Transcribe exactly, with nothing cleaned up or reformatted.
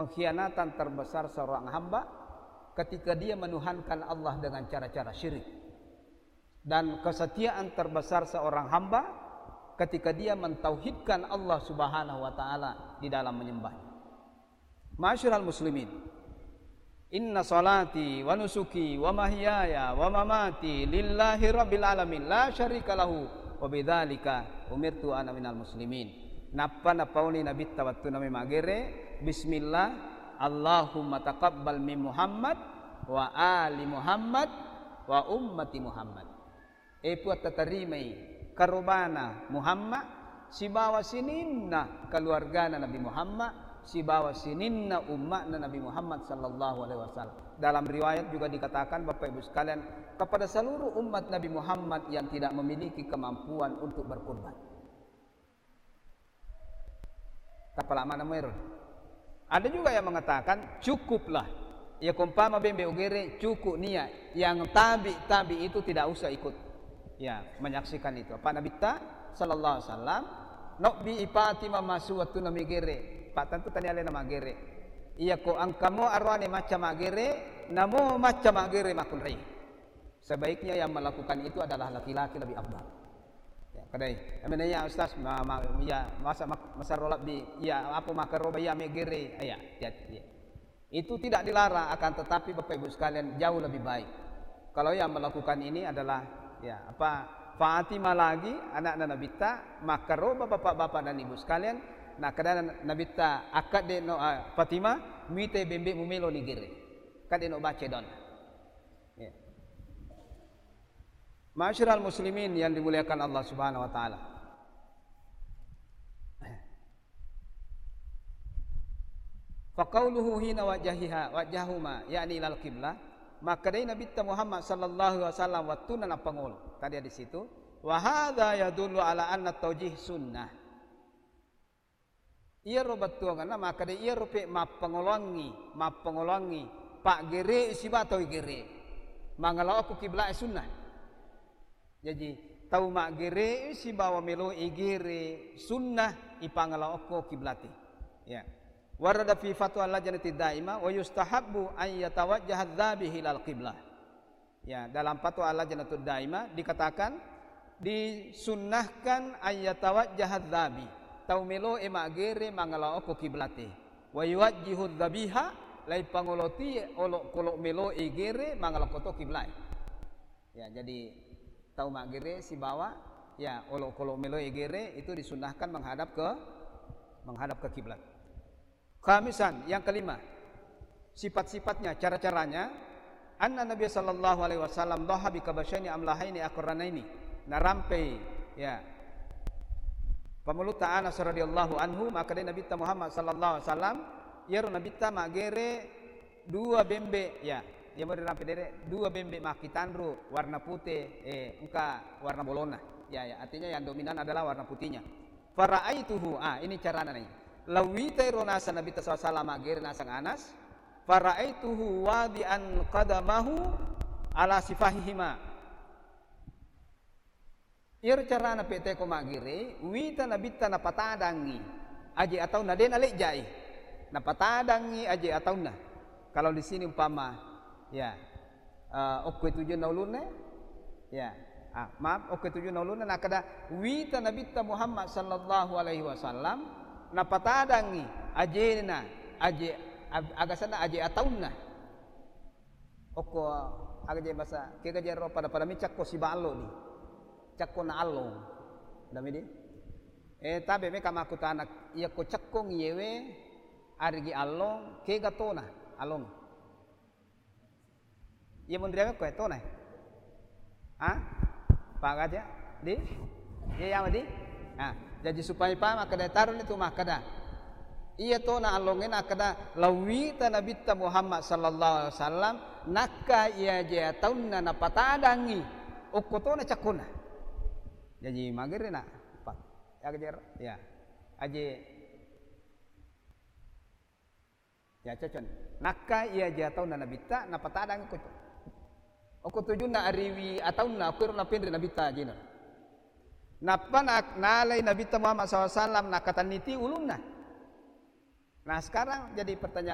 pengkhianatan terbesar seorang hamba ketika dia menuhankan Allah dengan cara-cara syirik. Dan kesetiaan terbesar seorang hamba ketika dia mentauhidkan Allah Subhanahu wa Ta'ala di dalam menyembah. Ma'asyiral muslimin, inna salati wa nusuki wa mahyaya wa mamati lillahi rabbil alamin la syarika lahu wa bidzalika umirtu ana minal muslimin. Nappa napauni Nabitta wettunna maggere, bismillah, Allahumma taqabbal min Muhammad wa ali Muhammad wa ummati Muhammad. E Puang, tatarimai karobana Muhammad sibawa sininna keluargana Nabi Muhammad sibawa sininna umma'na Nabi Muhammad sallallahu alaihi wasallam. Dalam riwayat juga dikatakan, Bapak Ibu sekalian, kepada seluruh umat Nabi Muhammad yang tidak memiliki kemampuan untuk berkurban. Tapala mana muero. Ada juga yang mengatakan, cukuplah. Ya, umpama bembe ugere, cukup niat. Yang tabi-tabi itu tidak usah ikut. Ya, menyaksikan itu. Apa Nabitta sallallahu alaihi wasallam, nobbi i Fatimah masu wettunna maggere. Pak, tentu tania alena maggere. Iya ko engkamo arwane macca maggere, namo macca maggere makkunrai. Sebaiknya yang melakukan itu adalah laki-laki, lebih afdal. Ya, kadai. Amena ya Ustaz, ma, ma, ya, masa mak-, masarro lebbi, ya, apa makaroba ya megere, ya, hati-hati, ya. Itu tidak dilarang, akan tetapi Bapak Ibu sekalian, jauh lebih baik. Kalau yang melakukan ini adalah, ya, apa, Fatimah lagi, anakna Nabitta, makaroba bapak-bapak dan ibu sekalian, nah, kada Nabitta, akad de no, ah, Fatimah, mite bembe mumelo ni gere. Kade no bace don. Ya. Ma'asyiral muslimin yang dimuliakan Allah Subhanahu wa Ta'ala. Faqauluhu hina wajjahiha, wajjahuma, yakni ilal qiblah. Makkedai Nabitta Muhammad sallallahu alaihi wasallam wettunna nappangolo. Tadi di situ, wa hadza yadullu ala anna taujih sunnah. Iyaro bettuangenna makkeda iyaro pe mappangoloangngi, mappangoloangngi, paggere siba tau igere. Mangala okko kiblat sunnah. Jaji, tau maggere sibawa melo igere sunnah ipangala okko kiblate. Ya. Warada fi fatwa lajnati daimah wa yustahabbu an yatawajjaha dzabihu ilal qiblah. Ya, dalam fatwa Al-Lajnatud Daimah dikatakan, disunnahkan ayyatawajjaha dzabi, tau melo e maggere mangala okko kiblate. Wa yuwajjihu dzabiha, lai pangoloti olokolo melo e gere mangala okko to kiblae. Ya, jadi tau maggere sibawa, ya, olokolo melo e gere itu disunnahkan menghadap ke, menghadap ke kiblat. Khamisan, yang kelima, sifat-sifatnya, cara-caranya. Anna Nabi sallallahu alaihi wasallam dhaha bi kabasyaini amlahaini aqranaini. Narampei, ya, pamulutta Anas radhiyallahu anhu, makkedai Nabitta Muhammad sallallahu alaihi wasallam, iyaro Nabitta maggere dua bembe, ya, iya mori rampe dere, dua bembe makkitanru, warna pute, eh, engka warna bolona. Ya, ya, artinya yang dominan adalah warna putihnya. Faraaituhu, ah, ini carana nih. Lawita ero naseng Nabitta sallallahu alaihi wasallam maggere naseng Anas, faraaituhu wadi'an qadamahu ala sifahihima. Iyaro carana pete ko maggere, wita Nabitta napatadangngi aje ataunna, de nalejjai. Napatadangngi aje ataunna. Kalau di sini umpama, ya, eh, okko tujunna ulunna, ya, ah, maaf, okko tujunna ulunna, nakkeda, wita Nabitta Muhammad sallallahu alaihi wasallam napatadangngi ajena, aje, ag-, agasenna aje ataunna. Okko aga je basa, kega je ro pada-pada mi cakko siballo di. Cakko na allong. Dami di? Eh, tabe meka makkutana, iya ko cakko ngiyewe arigi allong, kega tona allong. Iya monriame ko tona. Ha? Paham aja? Di? Iya, iya, di? Nah, jaji supaya paham, makkeda taroni tu makkeda. Iya tona allongnge nakkeda, lawita Nabitta Muhammad sallallahu alaihi wasallam, nakka iya aje ataunna napatadangngi, okko tona cakkona. Jaji magerena, Pak. Ya, kejar. Ya. Aje. Ya, cocok. Nakka iya aje ataunna Nabitta, napatadangngi ko. Okko tujunna ariwi ataunna, okko ero napenre Nabitta ajena. Nappa na-, nalai Nabitta Muhammad sallallahu alaihi wasallam, nakatanniti ulunna. Nah, sekarang jadi pertanyaan,